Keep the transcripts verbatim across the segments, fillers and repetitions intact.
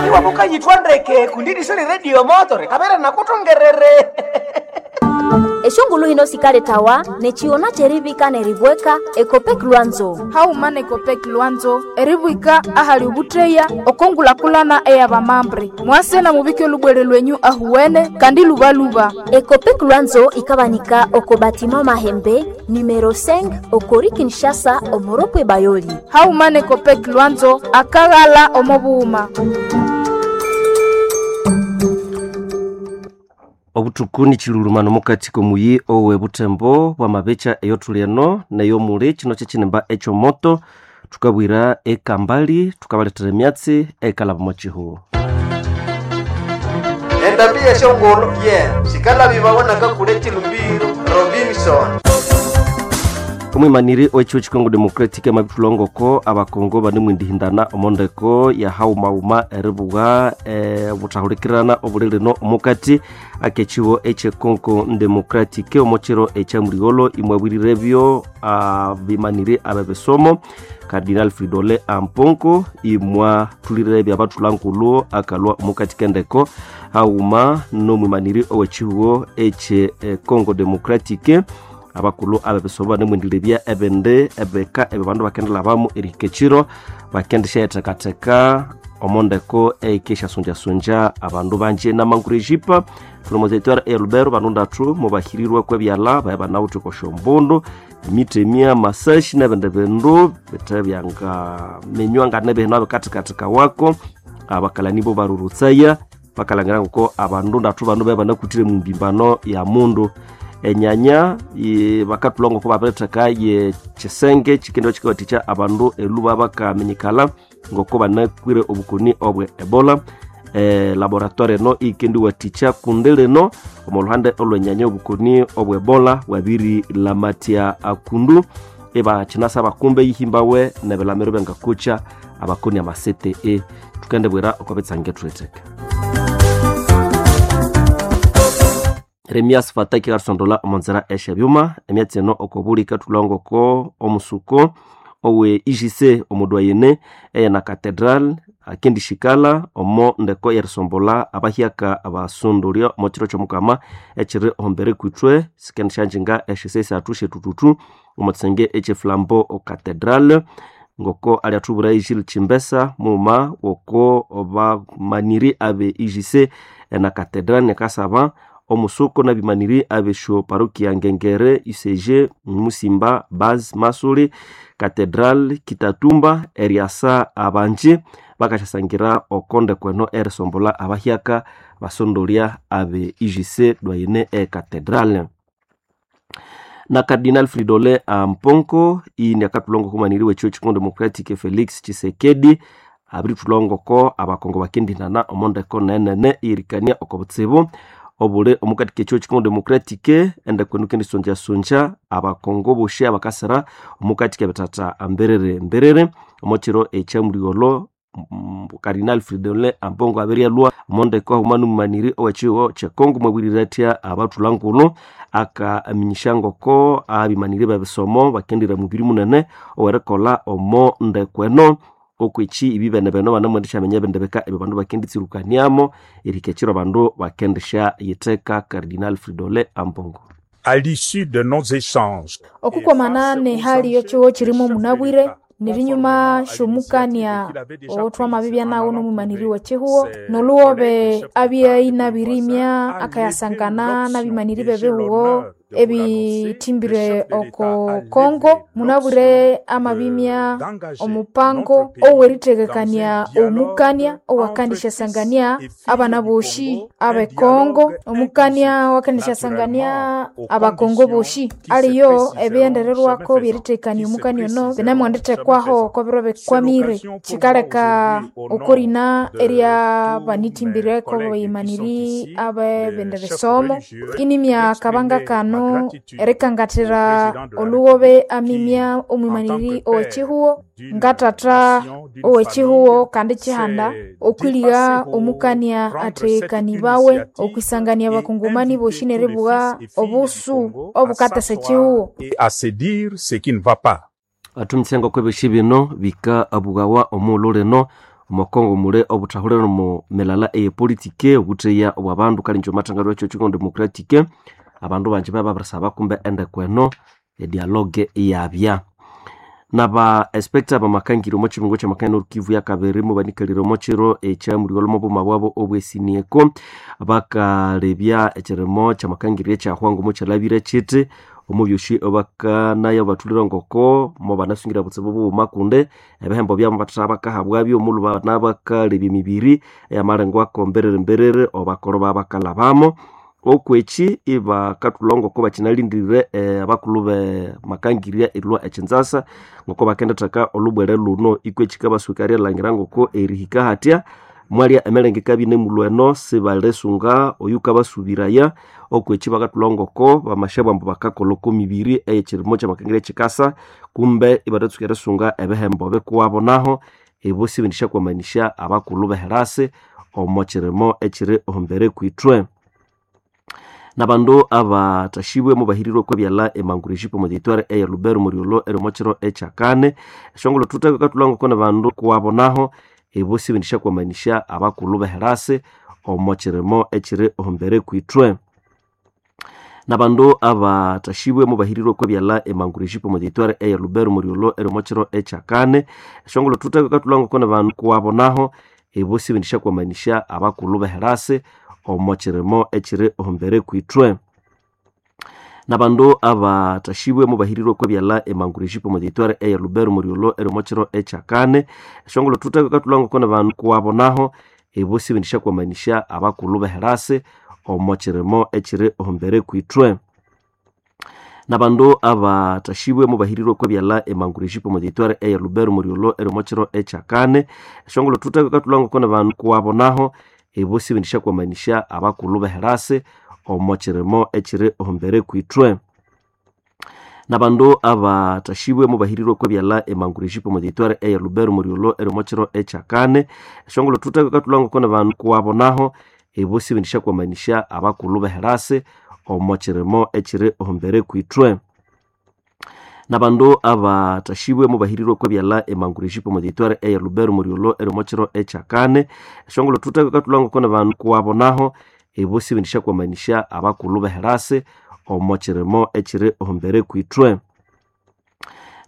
Iwabuka yitwa ndeke kundi soli radio moto kabere nakutongerere. Eshongulu hino sikaletawa nechiona cherivika neribweka Ekopek Lwanzo. Hauma nekopek Lwanzo eribwika ahali ubutreya okongulakulana eyabamambre mwase na mubike olubwere lwenyu ahuwene kandi lubaluba. Ekopek Lwanzo ikabanika oko batima Mahembe numero cinq okori Kinshasa omoropwe Bayoli. Hauma nekopek Lwanzo akaghala omobuhuma. Obutuku ni chilulumano mukati komuyi owe butembo bwa mabecha eyotuli eno neyo muli chino chechinemba echomoto tukabwira ekambali tukabaletera emyatsi ekalaba mochihu. Endambi yeshongolo ye sikala bibawonaka kule chilumbiro Robinson. Omwimaniri owechiwo chikongo Democratic amabithulongoko abakongo banemwindihindana omondeko ya haumauma eribuwa e, buthahulikirana obuli lino omukati akechiwo echekongo Democratic omochiro echamuligholo imwabwirirebyo abimaniri abebisomo Cardinal Fridolin Amponko imwathulirebyo abathulangulu akalwa omukati kendeko hauma nomwimaniri owechiwo eche Congo Democratic abakulu abebisomo banemwendilebya ebindi ebika ebyo bandu bakendelhabamu erihika ekiro bakendisyathekatheka omondeko eikesyasunjasunja abandu banji namanguru ejipa thulomozetwara elubero bandu ndathu mubahirirwe kwebyalha baye banawithe kosyombundu emitemya masashi nebindi bindu bithe byangaminywa nganebihina bikathikathika wako abakalani bo barurutsaya bakalangira ngoko abandu ndathu banu baye banakuthire mumbimbano ya mundu enyanya bakathulha ngoko babiritheka ye chisenge chikendo chikawathikya abandu eluba bakaminyikala ngoko banakwire obukoni obwe Ebola. E, laboratoire eno ikendiwathikya kundi lino omo luhande olwenyanya obukoni obwe Ebola bwabirilamatya akundu ibakinasa bakumbe yihimbawe nebilamiro byangakucha abakoni amasete e tukendebwera okobitsange thutheke. Remias Fataki karisondola omonzera esyabyuma emyatsi eno okobuli kathulhangoko omusuko owe I G C omudwayene eyena Cathedral akendishikala omo ndeko erisombola abahyaka abasondolya omo kiro kyomukama ekiri ohumbere kwithwe sikendisyanjinga esyisa esathu syetututu omo kisenge ekyeflambo Cathedral ngoko alyathubwira Gilles Chimbesa mughuma woko bamaniri abe I G C ena Cathedral nekasaba omusuko nabimaniri abesyo parokia Ngengere U C G Musimba Baz Masuli Cathedral Kitatumba eriasa abanji bakasyasangira okonde kweno erisombola abahyaka basondolya abe I G C dwayene e Cathedral. Na Cardinal Fridolin Amponko ini akathulhangoko kumaniri w'ekiwo Congo Democratic Felix Tshisekedi abirithulhangoko abakongo bakendinana omondeko nenene irikania oko butsibu obuli omukati k'ekiwo Congo Democratic endeko enu kendisonjasunja abakongo boshi abakasira omukati k'ebithatha mbiriri mbiriri omokiro ekyamuligholo Cardinal Fridolin Ambongo abiryalhwa omondeko haghuma n'omumaniri ow'ekihugo ky'ekongo mwabwirire athya abathulangulu akaminyisya ngoko abimaniri b'ebisomo bakendira mubiri munene ow'erikolha omo ndeko eno okweki ibibene beno banamwendeshyaminya ebindi bika ebyo bandu bakenditsirukaniamo erihika ekiro bandu bakendishyayitheka. Cardinal Fridolin Ambongo. À l'issue de nos échanges, okukomana nehali yochiwo chirimo munabwire nirinyuma shomukania otwamabibya nawo nomumaniri wa chihuo noluwobe abyainabirimya akayasangana nabimaniri bebihuo ebithimbire oko Kongo munabwire amabimya omupango oweritheghekania omukania owakandishyasangania abana boshi abe Kongo omukania wakandishyasangania abakongo boshi aliyo ebiyendererwako byeritheghekania omukania ono binamwandithekwaho kobiro bikwamire kikaleka okorina erya banithimbireko bayimaniri abebindi bisomo inimya akabanga kano erikangathira oluwobe amimya omwimaniri owechihuo ngathatha owechihuo kandi chihanda okwiliha omukania athekanibawe okwisangania abakongomani boshi neribugha obusu obukatesa echihuo et à se dire ce qui ne va pas. Athumitsenga kwebyosi bino bika abughawa omughulhu lino Omokongo mule obuthahulira omu milala eyepolitike obutheya obwabandu kalinji omathangalyo ekyo Congo Democratic abandu banji bababirisaba kumbe endeko eno edialogue iyabya. Naba inspector bamakangiri omo kibungo kyamakania Nord Kivu yakabiri mubanikalire omo kiro ekyamulhiwa omo buma bwabo obwesinieko bakalebya ekirimo kyamakangiri ekyahwa ngomo kyalhabire kiti omo byosi bakanaya bathulire ngoko mobanasungira butsibu bughuma kundi ebihembo byabo bathatha bakahabwabyo omulhu bana bakalebya emibiri eyamalengwako mbiriri mbiriri obakolho babakalhabamo. Okwekyi ibakathulha ngoko bakyinalindirire abakulhu bemakangirya erilhwa ekyinzasa ngoko bakenditheka olhubwele lhuno ikwa ekyikabasuka erilhangira ngoko erihika hathya mwalya emirenge ikabya inemulhwa eno sibalisunga oyukabasubiraya. Okwekyi bakathulha ngoko bamashabwa ambu bakakolha oko mibiri eyekyirimo kyamakangirya ekyikasa kumbe ibathatsuka erisunga ebihembo bikuwabo naho ibo sibendisyakwamanisya abakulhu beherasi omo kirimo ekyiri ohumbere kwithwe. Nabandu abathashibwe mubahirirwe okwa byalha emangurejipo omo territoire eya Lubero omweriolho eri omo kiro ekyakane esyongulho thutheko ikathulha ngoko nabandu kuwabo naho ibo sibendisyakwamanisya abakulhu beherasi omo kirimo ekyiri ohumbere kwithwe. Nabandu abathashibwe mubahirirwe okwa byalha emangurejipo omo territoire eya Lubero omweriolho eri omo kiro ekyakane esyongulho thutheko ikathulha ngoko nabandu kuwabo naho ibo sibendisyakwamanisya abakulhu beherasi omo kirimo ekyiri ohumbere kwithwe. Nabandu abathashibwe mubahirirwe okwa byalha emangurejipo omo territoire eya Lubero omweriolho eri omo kiro ekyakane esyongulho thutheko ikathulha ngoko nabandu kuwabo naho ibo sibendisyakwamanisya abakulhu beherasi omo kirimo ekyiri ohumbere kwithwe. Nabandu abathashibwe mubahirirwe okwa byalha emangurejipo omo territoire eya Lubero omweriolho eri omo kiro ekyakane esyongulho thutheko ikathulha ngoko nabandu kuwabo naho ibo sibendisyakwamanisya abakulhu beherasi omo kirimo ekyiri ohumbere kwithwe. Nabandu abathashibwe mubahirirwe okwa byalha emangurejipo omo territoire eya Lubero omweriolho eri omo kiro ekyakane esyongulho thutheko ikathulha ngoko nabandu kuwabo naho ibo sibendisyakwamanisya abakulhu beherasi omo kirimo ekyiri ohumbere kwithwe. Nabandu abathashibwe mubahirirwe okwa byalha emangurejipo omo territoire eya Lubero omweriolho eri omo kiro ekyakane esyongulho thutheko ikathulha ngoko nabandu kuwabo naho ibo sibendisyakwamanisya abakulhu beherasi omo kirimo ekyiri ohumbere kwithwe.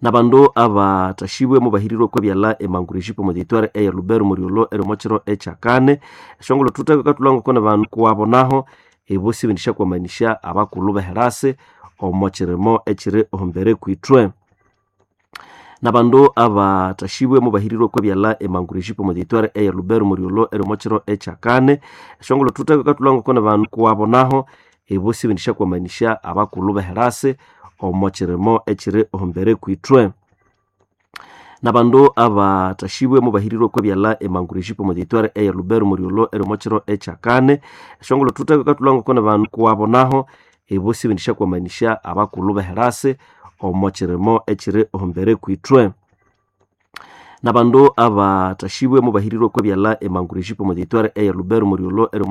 Nabandu abathashibwe mubahirirwe okwa byalha emangurejipo omo territoire eya Lubero omweriolho eri omo kiro ekyakane esyongulho thutheko ikathulha ngoko nabandu kuwabo naho ibo sibendisyakwamanisya abakulhu beherasi omo kirimo ekyiri ohumbere kwithwe. Nabandu abathashibwe mubahirirwe okwa byalha emangurejipo omo territoire eya Lubero omweriolho eri omo kiro ekyakane esyongulho thutheko ikathulha ngoko nabandu kuwabo naho ibo sibendisyakwamanisya abakulhu beherasi omo kirimo ekyiri ohumbere kwithwe. Nabandu abathashibwe mubahirirwe okwa byalha emangurejipo omo territoire eya Lubero omweriolho eri omo kiro ekyakane esyongulho thutheko ikathulha ngoko nabandu kuwabo naho ibo sibendisyakwamanisya abakulhu beherasi omo kirimo ekyiri ohumbere kwithwe. Nabandu abathashibwe mubahirirwe okwa byalha emangurejipo omo territoire eya Lubero omweriolho eri omo